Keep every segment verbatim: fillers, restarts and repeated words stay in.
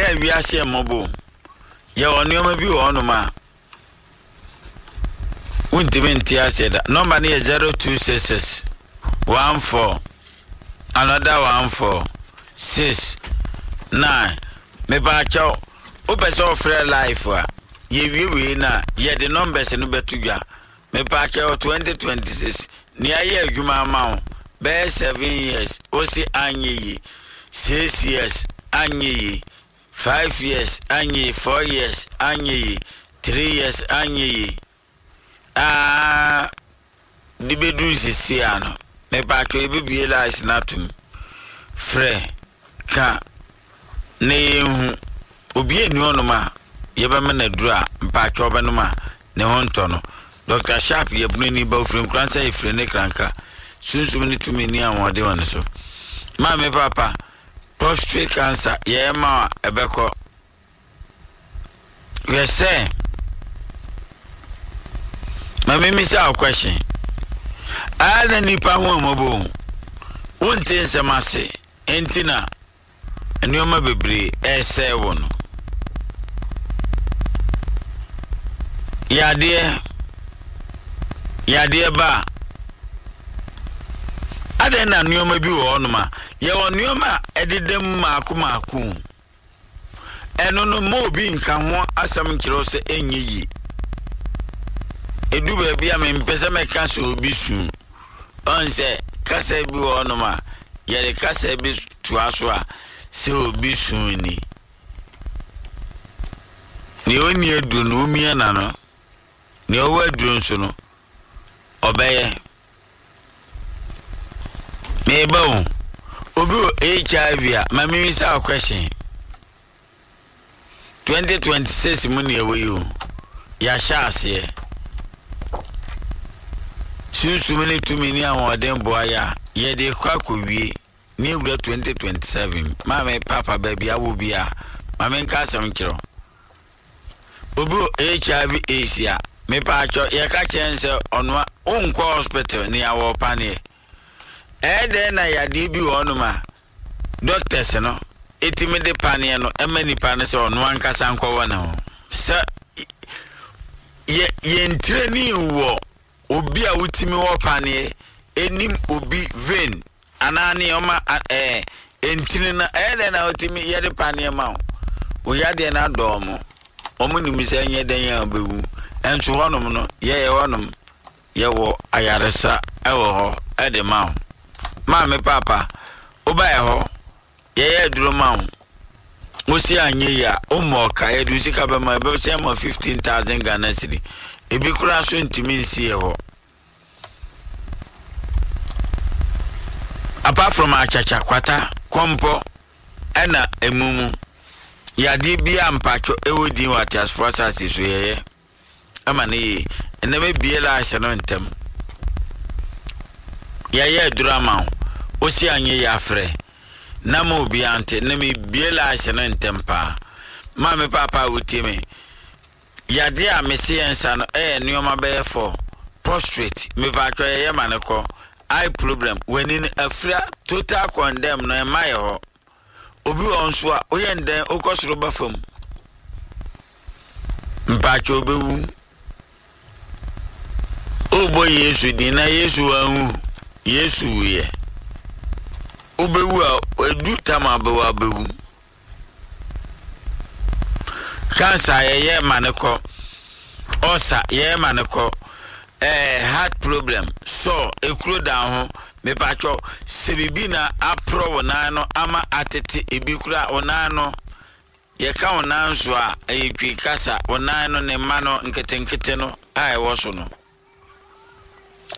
Ɛyɛ wiase mmɔbɔ. Yɛwɔ nneɛma bi wɔ hɔnom a wontumi nte aseɛ da. Number no yɛ zero two six six one four another one four six nine. Mepaakyɛw, wopɛ sɛ ɔfrɛ live a, yɛwie wei no a, yɛde numbers no bɛto dwa. Mepaakyɛw, twenty twenty six nea ayɛ adwuma ama wo bɛyɛ seven years wosi anyɛ yie, six years anyɛ yie, five years anyɛ yie, four years anyɛ yie, three years anyɛ yie, aa de bɛduru sisi ano. Mepaakyɛw, yɛbɛbie lines no atom. Frɛ ka na yɛnhu obi ani hɔnom a yɛbɛma no aduru a mpaakyɛw bɛnom a ne ho ntɔ no. Doctor Sharp yɛ bunu ba, ofiri Nkoransa, yɛfiri ne kranka sunsum ne tumi ni ahoɔden wɔ ne so. Maame, papa, prostate cancer yɛyɛ ma a ɛbɛkɔ. Hwɛ sɛ maame mi sɛ question aa na nipa ho mmɔbɔ, wonte nsɛm ase nti na nneɛma bebree ɛresɛe wɔ no. Yadeɛ yadeɛ ba a, adɛn na nneɛma bi wɔ hɔnom a yɛwɔ nneɛma a ɛdeda mu maako maako? Ɛno no, ma obi nka ho asɛm nkyerɛ wo sɛ ɛnyɛ yie. Ɛdu baabi a mempɛ sɛ mɛka sɛ obi su ɔn sɛ kasa bi wɔ hɔnom a yɛde kasa bi toa so a sɛ obi su ni. Nea ɔnni aduro no, omia n'ano. Nea ɔwɔ aduro nso no, ɔbɛyɛ. Meba o, obi wɔ H I V a, ma memisa wo question. twenty twenty-six mu ne ɛwɔ yi o, yɛahyɛ aseɛ. Sunsum ne tumi ne ahoɔden boa yɛ a, yɛde kɔ akɔwie ne ewura twenty twenty-seven. Maame, papa, baabi awɔ bi a, maame nka asɛm nkyerɛ wo. Obi wɔ H I V AIDS a, mepaakyɛ, yɛka kyerɛ n sɛ ɔnoa wonkɔ hospital ne awɔ paneɛ. Ɛyɛ dɛn na yadeɛ bi wɔ hɔnom a doctors no ɛtumi de paneɛ no ɛma nipa no sɛ ɔno ankasa nkɔwɔ ne ho sɛ yɛ yɛntire ni wɔ obi a wotumi wɔ paneɛ enim obi vein anaa nneɛma ɛɛ ntini no? Ɛyɛ dɛn na wotumi yɛde paneɛ ma wo? Wo yadeɛ no adɔɔ mo, wɔn nim sɛ ɛnyɛ dɛn a wobɛwu. Ɛnso hɔnom no, yɛyɛ hɔnom, yɛwɔ ayaresa ɛwɔ hɔ ɛde ma wo. Maame, papa, wobaɛ hɔ, yɛyɛ aduro ma wo, wosi anyɛ yi a, wommɔ ɔka, yɛde wo sika bɛma. Ɛbɛsɛ ma fifteen thousand Ghana cedi. Ebi koraa so ntumi nsi yɛ hɔ. Apart from akyakya, kwata, kɔmpɔ ɛna emu mu yadeɛ bi a mpatwɔ ɛwɔ din wɔ ateasefoɔ asase so, yɛyɛ ɛma ne yie. Ɛnna mebie lines no ntɛm. Yɛyɛ aduro ama wo, wosi anyɛ yi, afrɛ na ma obiara nte na mebie lines no ntɛm paa. Maame, papa a wotie me, yadeɛ a mese yɛn nsa no ɛyɛ nneɛma bɛyɛ fɔ. Prostate, mepatwɔ, yɛyɛ ma ne kɔ. Eye problem, w'ani no afira, total condemn no, ɛma yɛ hɔ. Obi wɔ nso a woyɛ ndɛn, wokɔ soro ba fam, mpatwɔ, obɛwu. Wobɔ Yesu din na Yesu wanwu, Yesu wuyɛ. Wobɛwu a, edu tam abɛwu, abɛwu. Cancer, yɛyɛ ma ne kɔ. Ɔsa, yɛyɛ ma ne kɔ. Ɛɛ heart problem sɔ ekuro da ho, mepatwɔ, sɛ biribi na aporɔ wo nan no ama atete, ebi kura wo nan no, yɛka wo nan so a, ɛyɛ Twi kasa. Wo nan no ne mma no nketenkete no a ɛwɔ so no,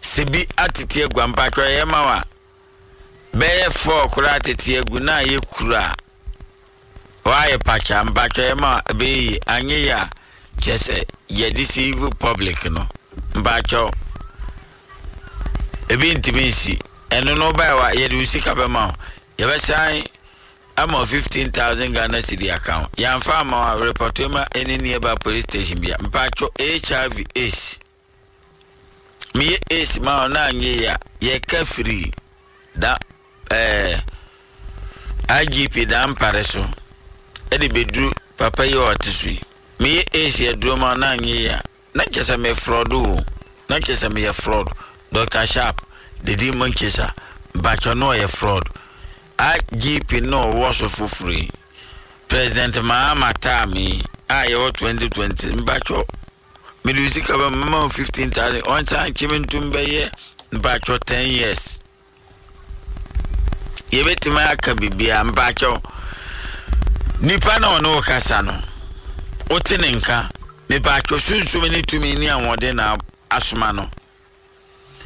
sɛ bi atete agu a, mpatwɔ, ɛyɛ ma wa bɛyɛ four koraa atete agu na ayɛ kuro a wayɛ pakya, mpatwɔ, ɛyɛ ma wa ɛbɛyɛ yie. Anyɛ yie a, kyerɛ sɛ yɛde civil public no, mpatwɔ, ebi ntumi nsi. Ɛno no, wobaɛ wa yɛde wo sika bɛma wo, yɛbɛsan ama fifteen thousand Ghana cedi aka ho. Yɛamfa ama wo a, report ma ɛne nearby police station bia. Mpatwɔ, H I V AIDS, meyɛ AIDS ma wo na anyɛ yie a, yɛka firi da ɛɛ I G P Dampare so Ɛde bɛduru papa yi a ɔte so yi, meyɛ Asia aduro ma na anyɛ yi a, na kyerɛ sɛ me fraud o, na kyerɛ sɛ meyɛ fraud. Doctor Sharp didi mu nkyesa mpakyɛ no, ɔyɛ fraud. I G P no ɔwɔ so foforɔ yi, President Mahama taam yi a yɛwɔ twenty twenty, mpakyɛ mede sika bɛ mama wo fifteen thousand, ɔnsan kyeme ntom bɛyɛ mpakyɛ ten years, yɛbɛtumi aka biribiara. Mpakyɛw, nipa na ɔne wo kasa no, wote ne nka. Mepakyɛw, sunsum ne tumi ne ahoɔden na asoma no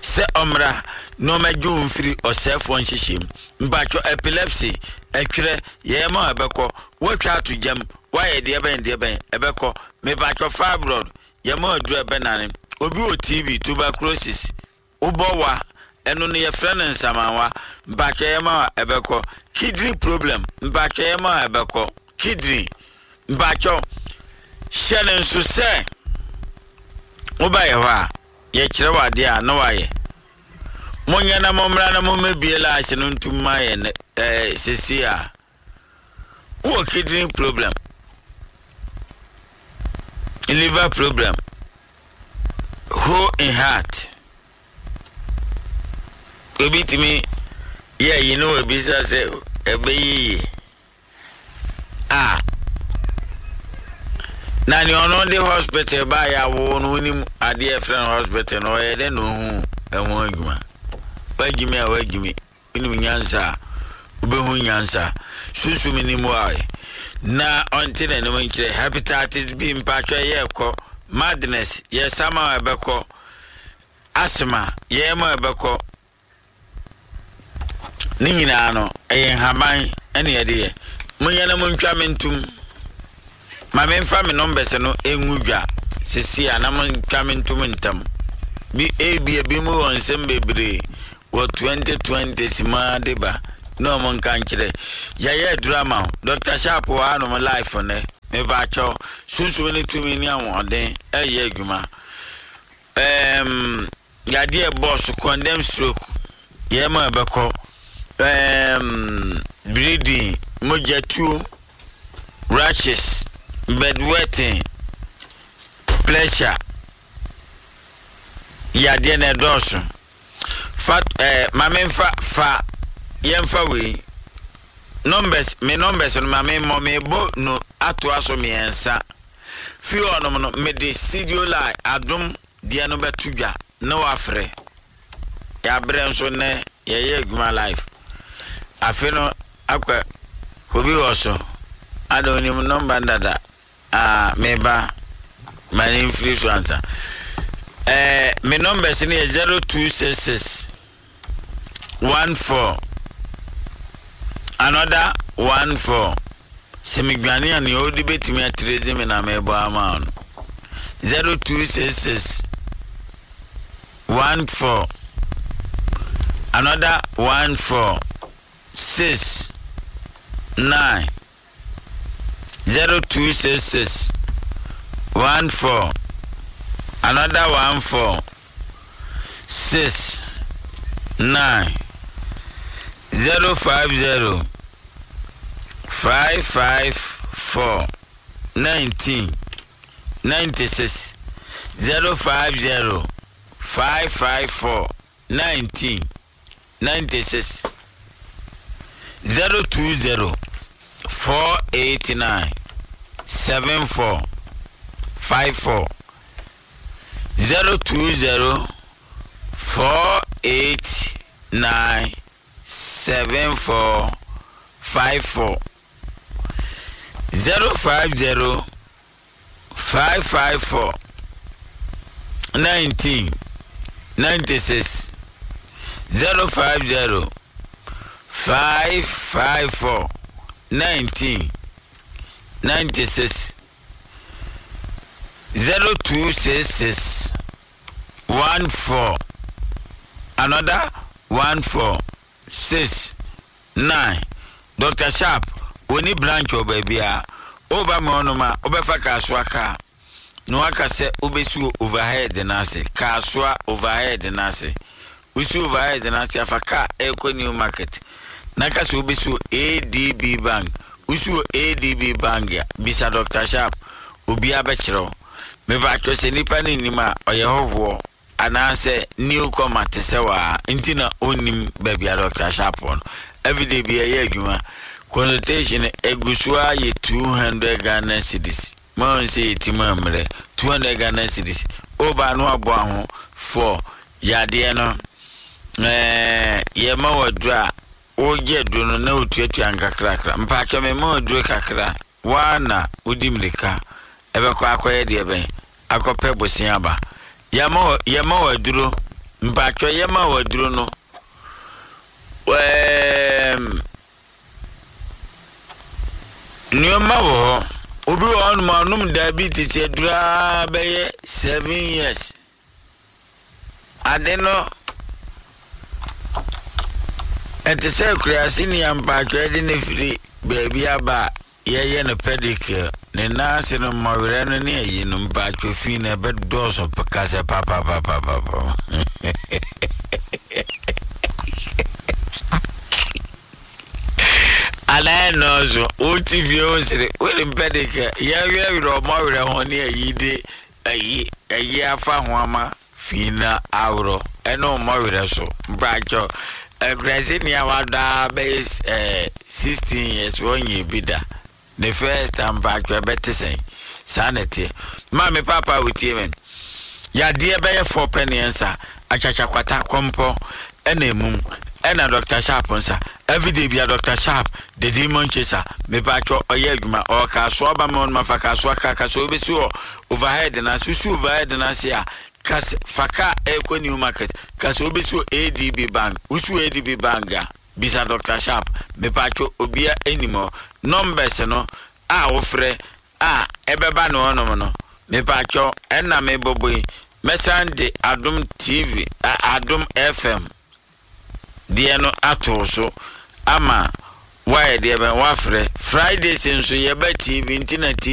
sɛ ɔmmra na ɔmɛgye wo mfiri ɔsɛefoɔ nhyehyɛ mu. Mpakyɛw, epilepsy, ɛtwerɛ yɛyɛ ma ɛbɛkɔ, woatwa ato gyam, woayɛ deɛ bɛn deɛ bɛn, ɛbɛkɔ. Mepakyɛw, fibroid, yɛma aduru, ɛbɛnane. Obi wɔ T B, tuberculosis, wobɔ wa, ɛno no yɛfrɛ no nsamanwa, mpakyɛ yɛ ma ɛbɛkɔ. Kidney problem, mpakyɛ yɛ ma ɛbɛkɔ. Kidney, mpakyɛ hyɛ ne nso sɛ wobayɛ hɔ a, yɛkyerɛ wɔ adeɛ a na wayɛ. Monyɛ na mommra na mommɛbie laahye no ntom ma yɛ ɛɛ sesi a wowɔ kidney problem, liver problem, hole in heart. Obi tumi yɛ yi na wabisa sɛ ɛbɛyɛ yie a, na nea ɔno de hospital baayɛ awo no, wonim adeɛ ɛfrɛ no hospital no, ɔyɛ dɛ na ohu ɛho adwuma. Wagyimi a wagyimi, wonim nyansa a wobɛhu nyansa. Sunsum nim a na ɔnte n'anim nkyerɛ. Hepatitis B, mpatwɛ, yɛ kɔ. Madness, yɛ sama a ɛbɛkɔ. Asthma, yɛ ma ɛbɛkɔ. Ne nyinaa no ɛyɛ nhaban ɛne yɛde yɛ. Monyɛ na montwa me ntom ma memfa me numbers no ɛngu dwa sisi a, na montwa me ntom ntam bi. Ebi ebi mu wɔ nsɛm bebree wɔ twenty twenty simaa de ba na ɔmo nka nkyerɛ. Yɛyɛ aduru ama wo. Doctor Sharp wɔ hanom live nɛ. Mepaakyɛw, sunsum ne tumi ne ahoɔden ɛyɛ adwuma. ɛɛm yadeɛ bɔs, condemn stroke, yɛn ma ɛbɛkɔ. ɛɛm bleeding, mogya tuo, rashes, bedwetting, pressure yadeɛ na ɛdɔɔso. Fa ɛɛ maame nfa fa yɛnfa wei numbers, me numbers no, maame mmɔ me bɔ no atoa so mmiɛnsa fi hɔnom no, mede studio line Adom deɛ no bɛto dwa na wafrɛ. Yɛabrɛ nso nnɛ, yɛyɛ adwuma live. Afe no akɔ, obi wɔ so ada onim number dada a meba ma ne mfiri so ansa. ɛɛ me numbers no yɛ zero two six six one four another one four. Sɛ medwane a, nea ɔde bɛtumi atirezi me na mebɔ ama no, zero two six six one four another one four six nine, zero two six six one four another one four six nine, zero five zero five five four nineteen ninety six, zero five zero five five four nineteen ninety six, zero two zero four eight nine seven four five four, zero two zero four eight nine seven four five four, zero five zero five five four nineteen ninety six, zero five zero five five four nineteen ninety six, zero two six six one four another one four six nine. Doctor Sharp oni branch wɔ baabi a woba ma ɔnom a, wobɛfa Kasoa kaa na waka sɛ wobɛsi overhead n'ase, Kasoa overhead n'ase. Wosi overhead n'ase afa kaa ɛrekɔ New Market na ka sɛ wobɛsi A D B Bank. Wosi wɔ A D B Bank a, bisa Doctor Sharp, obiara bɛkyerɛ wo. Mepaatwɔ, sɛ nipa no nim a, ɔyɛ hɔhoɔ anaasɛ newcomer te sɛ waa nti na ɔnnim baabi a Doctor Sharp wɔ no. Everyday bi ɛyɛ adwuma. Consultation egu so a yɛ two hundred Ghana cedis. Maa sɛ yɛti mu mmerɛ two hundred Ghana cedis ɔbaa no aboa ho for yadeɛ no. ɛɛ yɛma wɔ duro a wogye aduro no na wotuatua nkakrakra. Mpaatwɔ, mema wɔ duro kakra waa na wodi mmirika ɛbɛkɔ akɔyɛ deɛ bɛn akɔpɛ bosia aba. Yɛma wɔ yɛma wɔ aduro. Mpaatwɔ, yɛma wɔ aduro no, ɛɛm nneɛma wɔ hɔ. Obi wɔ hɔnom a ɔnom diabetes aduro a bɛyɛ seven years. Ade no ɛte sɛ kurase ne mpaatwɔ de ne firi baabi aba a yɛyɛ no pedicure, ne nan ase no mmɔwerɛ no ne ayi no. Mpaatwɔ, fi no ɛbɛdɔɔso kasɛ papapapapapa. Anaa nɔɔso wote fie wo sere wode pedicure yɛwerɛwerɛ ɔmmɔwerɛ ho ne ayi de ayi ayi afa ho ama fi na aworɔ ɛne ɔmmɔwerɛ so. Mpaatwɔ, akurase nea wadaa bɛyɛ ɛɛ sixteen years wɔnyɛ bi da, the first time, mpaatwɔ, ɛbɛte sɛn? Saa na ɛteɛ. Maame, papa a wotie me, yadeɛ bɛyɛ fɔ pɛ ne nsa akyakyakwata kɔmpɔ ɛna emum ɛna Doctor Sharp nsa. Everyday bia Doctor Sharp the Demon Chaser, mepatwɔ, ɔyɛ adwuma. Ɔwɔ Kasoa ba ma ɔnum afa Kasoa kaa Kasoa obesi wɔ Overhead na susu Overhead na se a kas fa kaa ɛkɔ New Market. Kasa obesi wɔ A D B Bank. Wusu A D B Bank a, bisa Doctor Sharp. Mepatwɔ, obia anim hɔ. Numbers no a wofrɛ a ɛbɛba ne hɔnom no, mepatwɔ, ɛna mebɔbɔ yi, mɛsan de Adom T V, Adom F M deɛ no ato so ama wayɛ deɛ bɛn wafrɛ. Fridays nso yɛbɛ T V nti na T V.